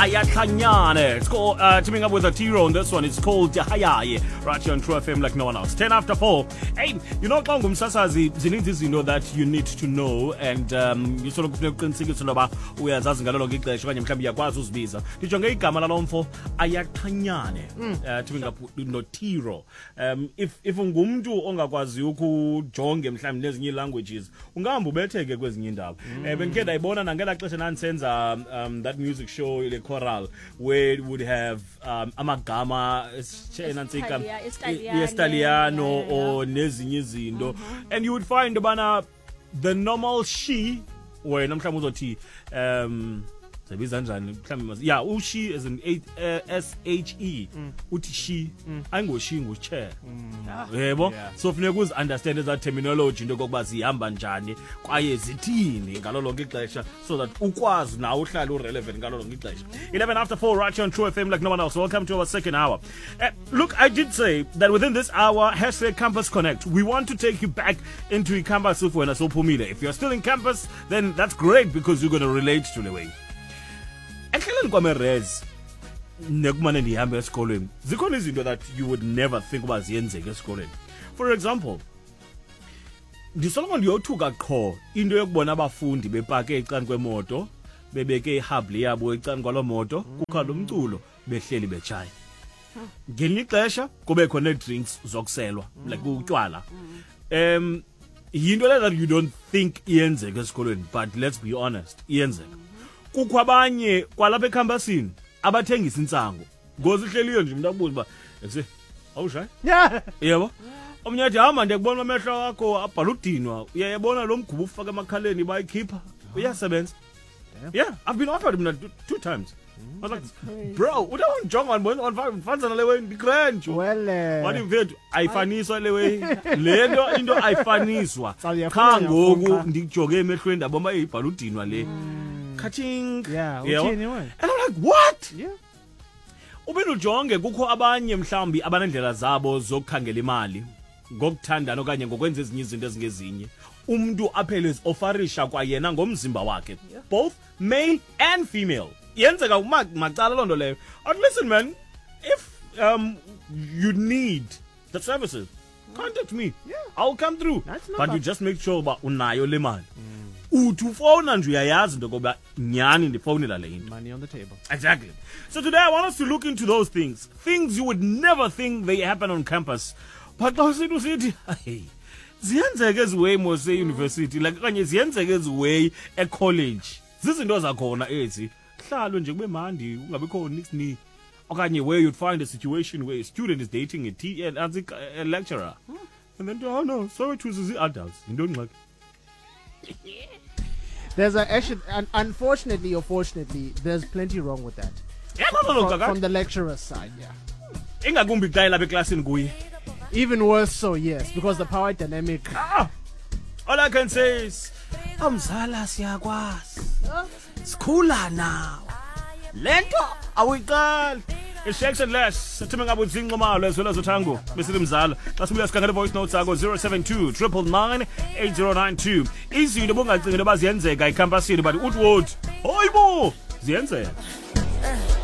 Ayatlanyane. It's called, teaming up with a Tiro on this one. It's called Hayaye, right here on True FM like no one else. 10 after 4. Hey, you know, xa ungumsasazi zininzi izinto that you need to know and you sort of kufuneka uqinisekise into yoba uyazazi ngalo lonke ixesha okanye mhlawumbi uyakwazi uzibiza. Ndijonge igama lalo mfo Ayatlanyane, teaming up noTiro. If ungumntu ongakwaziyo ukujonge mhlawumbi nezinye ii-languages, ungahamba ubetheke kwezinye iindawo. Bendikhe ndayibona nangelaa xesha ndandisenza that music show, le choral, where it would have amagama nantsika yesiTaliyano or nezinye izinto, and you would find ubana the normal she, wena mhlawumbi uzothi sebiza njani mhlawumbi, yeah, ushi as in S H E, uthi she, ayingoshi, nguchair, yebo. So funeka uzi-understand eza terminology, into yokokuba zihamba njani kwaye zithini ngalo lonke ixesha, so that ukwazi nawe uhlale urelevant ngalo lonke ixesha. 11 after 4, right here on True FM like no one else. Welcome to our second hour. Look, I did say that within this hour, #CampusConnect, we want to take you back into campus if wena sowuphumile. If you're still in campus, then that's great, because you're going to relate to the way endleleni kwam e-res nekumane ndihambe esikolweni. Zikhona izinto that you would never think uba ziyenzeka esikolweni. For example, ndisoloko ndiyothuka qho into yokubona abafundi bepake ecaleni kwemoto, bebeke ihubbly yabo ecaleni kwaloo moto, kukho lo mculo, behleli betshaya. Ngelinye ixesha kubekho nee-drinks zokuselwa, like utywala. Yinto le that you don't think iyenzeka esikolweni, but let's be honest, iyenzeka. Kukho abanye kwalapha ecampusini abathengisa intsango ngozihleliyo nje, umntu akubuza uba ekuse awushayi. Yebo, omnye athi, "Hamba, ndiyakubona amehlo akho abhala udinwa, uyayabona lo mgubo ufaka emakhaleni, bayikhipha uyasebenza." Yeah, I've been offered mna two times. I was like, "Bro, utawundijonga ndibona ndifanisa le way ndigrand." Well, Wathi, "Mfethu, ayifaniswa le way, le nto into ayifaniswa." Uyafuna, Qha ngoku uyafuna. ndikujonge emehlweni, ndabona uba ibhala udinwa le khathing. Yeah, Yebo. uthini wena? And I'm like, "What?" Uphinde ujonge kukho abanye mhlawumbi abanendlela zabo zokukhangela imali ngokuthandana okanye ngokwenza ezinye izinto ezingezinye, umntu aphele ezi-offerisha kwayena ngomzimba wakhe, both male and female. Yenzeka macala loo nto leyo. But listen, man, if you need the services, contact me. I'll come through. That's But you number. just make sure uba unayo le mali. Uthi ufowuna nje, uyayazi into yokoba nyhani ndifowunela le into. Money on the table. Exactly. So today I want us to look into those things. Things you would never think they happen on campus. But xa usithi, hey, ziyenzeka eziway mos e-university, like okanye ziyenzeka eziway ecollege. Zizinto zakhona ezi. Hlalwe nje kube mandi, kungabikho niks ni. Okanye where you'd find a situation where a student is dating a, t a, a lecturer. And then, oh no, sorry to the adults. Yintoni ngxaki? There's a actually, unfortunately or fortunately, there's plenty wrong with that. Yeah, no, From the lecturer's side, yeah. Ingakumbi xa elapha eklasini kuye. Even worse so, yes, because the power dynamic. Ah! All I can say is, amzala siyakwazi. Sikhula nawe. Lento awuyiqali. It's Shakes and Less. Teaming up with Zinqomalo as well as Utango. Besithi mzala. Xa sibuya sikhangela voice notes sakho 072 999 8092. Izinto obungacingi into yoba ziyenzeka ecampusini, but uthi wothi, hayibo, ziyenzeka.